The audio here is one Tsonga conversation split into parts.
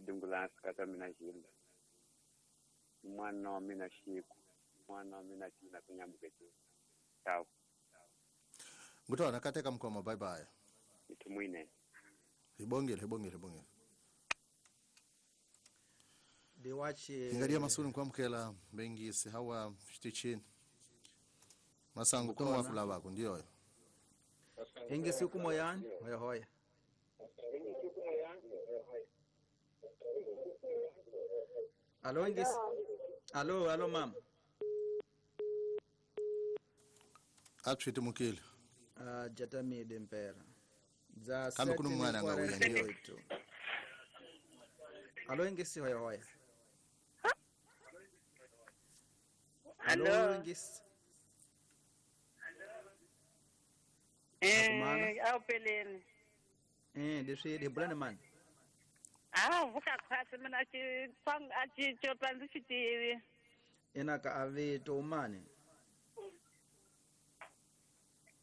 Dungulasi kata mina Gilda. Mwana wa mina Xiku, mwana wa mina Tina kunyambuke. Ciao. Ngutona kateka mkoma, bye bye. Itumwine. Hibongile. Diwachi. Ingalia masuni kwamkela bengisi hawa shtichini. Masango kuna wafula wako ndio. Ingisi kumoyani hoya hoya. Alo ingisi. Alo mama. Atshiti mukile. Jatamide mpera. Za kama kuna mwana ngawuya ndio. Alo ingisi hoya hoya. Alo ingisi. Au peleni. Deshe de bulana man. Ah, vuka khasi mina chi tsang a chi chopa ndzi xi tivi. Ina ka avito mani.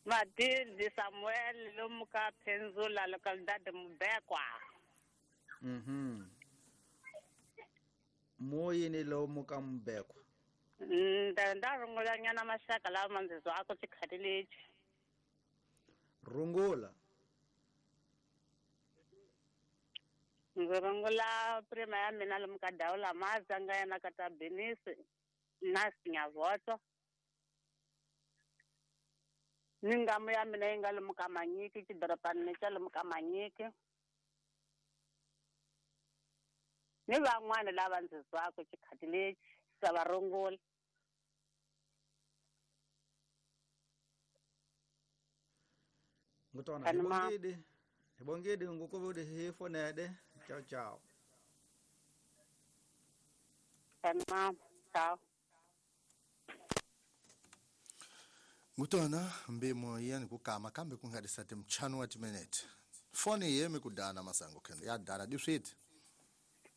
Matilde Samuel lomu ka Penzula localidade Mubekwa. Moyini lomu ka Mubekwa. Nda rungula nyana maxaka lawa ndzi zwako xikhati lexi. Rungula. Ndzi rungula prima ya mina lomu ka Dawula Mazanga yena ka ta Benisi na Sinyavoto. Ni ngamu ya mina yi nga lomu ka Manyiki xidorobani xa lomu ka Manyiki. Ni van'wana lava ndzi zwako xikhati lexi sa va rungula. Ngutona hibongidi ngukuvudi hifonede. Ciao ciao. Tamam, ciao. Ngutona mbimo yani kukama kambe kungadisate mchano wa timinute. Foni yemi kudana masango kendo. Ya dana diswit.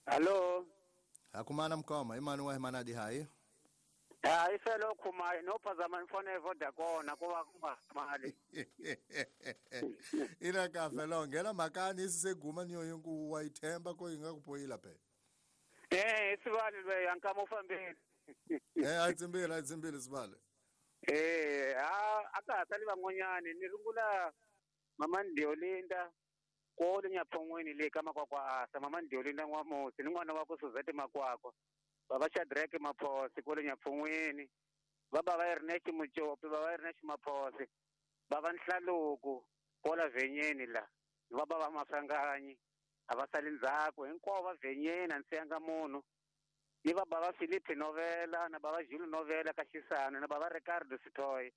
Hello. Akumana mkoma imani wa himanadi hai. Ah, ifelo khuma no phazama mfone Vodacom kuva kuma mali. Ina kafe lo ngena makani iseguma niyo yonku wayithemba ko ingakupoyila phe. Sibali le yankama ufambile. Atsimbile sibale. Aka sali van'wanyani ni rungula mama Ndiolinda ko le Nyaphongweni le ka Makwakwa asa mama Ndiolinda N'wamusi ni n'wana wa ku Suzette Makwakwa. Baba Shadrack Maphosi kule Nyaphongweni, baba va Ernest Muchopi, baba Ernest Maphosi, baba Nhlaluku kola Venyeni la, baba va Masanganyi a va sali ndzhaku hinkwavo va Venyeni a ndzi siyanga munhu. Ni baba va Philip Novela na baba Jules Novela ka Xisano na baba Ricardo Sitoy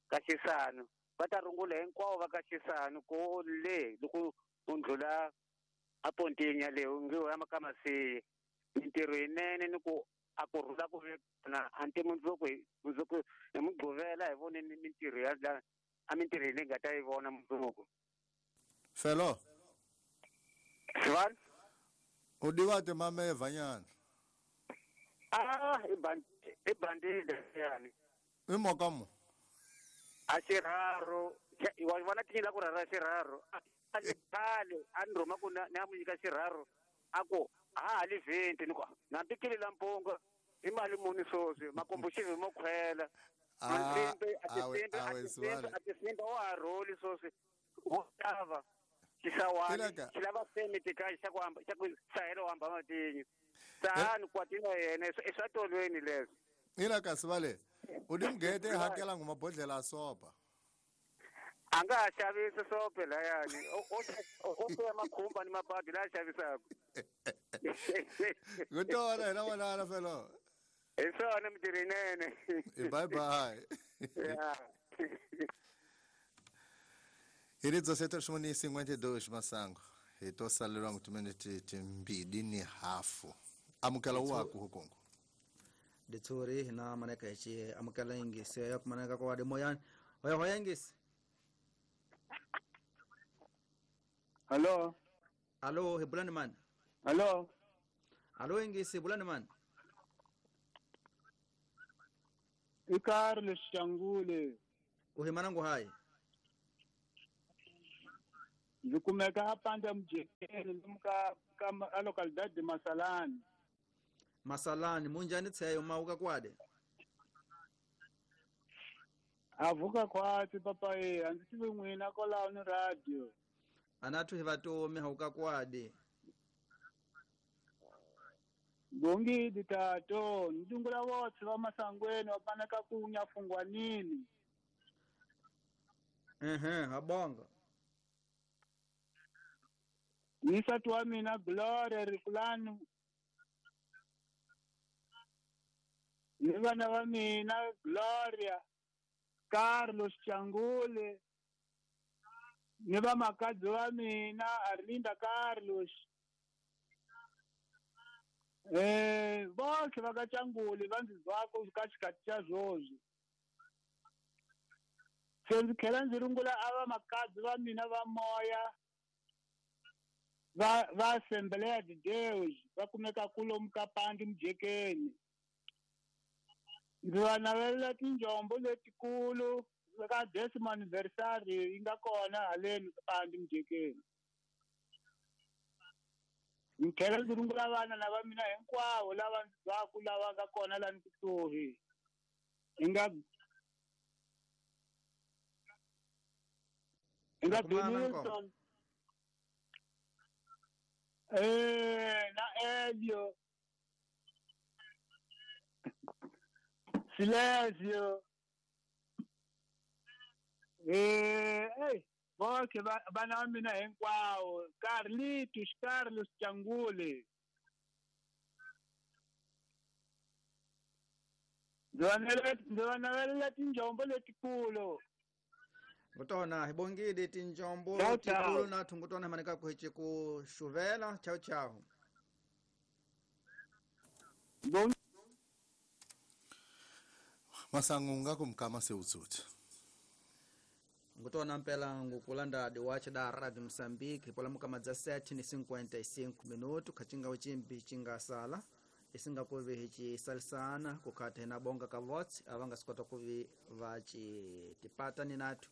ka Xisano, va ta rungula hinkwavo va ka Xisano ko le loko u ndlula a Pontinya le u nge ya ka Masiye. Mintirho yinene ni ku a ku rhula ku na anti mundzuku hi Mugqivela hi voneni mintirho ya la a mintirho leyi nga ta yi vona mundzuku. Felo. Sivani? U divate mameva nyana. Ah, i bandile yani. I moka mo. A xirharu, wa vona tinyila ku rhara xirharu. A khale a ni rhuma ku ni a mu nyika xirharu a ku ha li 20 ni ku na pikili la mpunga i mali muni sweswi makomboxivi mo khwela. Atisimbe wa ha rholi sweswi wo xava xisawani xi lava semi tika xa ku hamba xa ku sahelo hamba matinyo sahani kwatini wa yena i swa tolweni leswi. Ina kasi vale u di mugete hakela ngoma bodlela a sopa. A nga ha xavisi sope layani o siya makhumba ni mabadi laya xavisaka. Ngutona hina vonana felo. Hi swona mintirho yinene. Bye bye. Yeah. Iri 17:52 masango. Hi to salelwa ngutiminute timbili ni hafu. Amukela waku hukongo. Ditsuri hina maneka hichi amukela ingisi ya kumaneka kwa wade moyani. Hoya hoya ingisi. Hello. Alo, hebulani man. Hello. Alo ingisi bulani man. Ikarle Shangule. Uhimanangu hai. Ndzi kumeka a Panda Mujekeni lomu ka a localidade de Masalani. Masalani munjani tseyo mauka kwade? Avuka khwatsi papa e, a ndzi tivi n'wina kwalaho ni radio. Anathu hi vatomi hauka kwade. Bongidi tato, ndzi votse va Masangweni va panaka ku nyafungwanini. Habonga. Ni nsati wa mina Gloria Rikulani. Ni vana va mina Gloria, Carlos Changule. Ni vamakadzi va mina Arlinda Carlos. Voxe va ka Changule va ndzi zwaka ka xikati xa swoswi. Se ndzi tlhela ndzi rungula a vamakadzi va mina va moya va Assembleia de Deus va kumeka kulomu ka Pandi Mujekeni. Ndzi va navelela tinjombo letikulu ka décimo anniversário yi nga kona haleni Pandi Mujekeni. Ndzi tlhela ndzi rungula vana lava mina hinkwavo lava ndzi byaku lava nga kona lani kusuhi. Hi nga Benilson na Elio Silésio voxe vana va mina hinkwavo Carlitos Carlos Changule. Ndzi va navelela tinjombo letikulu. Ngutona hi bongile tinjombo letikulu na thungutona hi maneka ku hi ku xuvela. Chao chao. Masangu nga kumkama se utsutsi. Ngutona mpela ngukulanda diwache da Radio Mozambique pola mukama dza 7:55 minuto kachinga uchimbi chinga sala isinga kuvi hichi salisana kukhata hina bonga ka vots avanga sikota kuvi vachi tipata ni nathu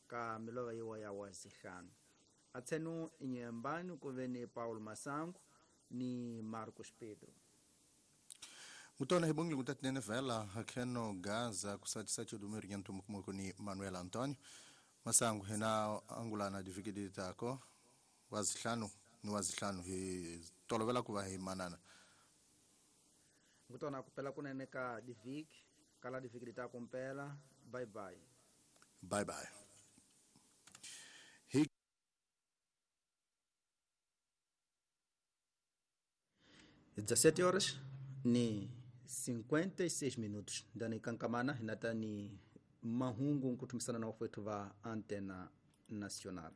ka milova yiwa ya wazihlanu atsenu inyembani kuve ni Paulo Masango ni Marcos Pedro. Ngutona hibongile kutatinene vela hakheno Gaza kusati dumiri nyantumukumuku ni Manuel Antonio Masango hina angulana divikidi tako wazihlanu ni wazihlanu hi tolovela kuva hi manana. Ngutona kupela kunene ka diviki kala diviki tako mpela. Bye bye. Bye bye. Hi 17 horas ni 56 minutos ndani kankamana hinatani mahungu nkutumisana na wafwetu va Antena Nacional.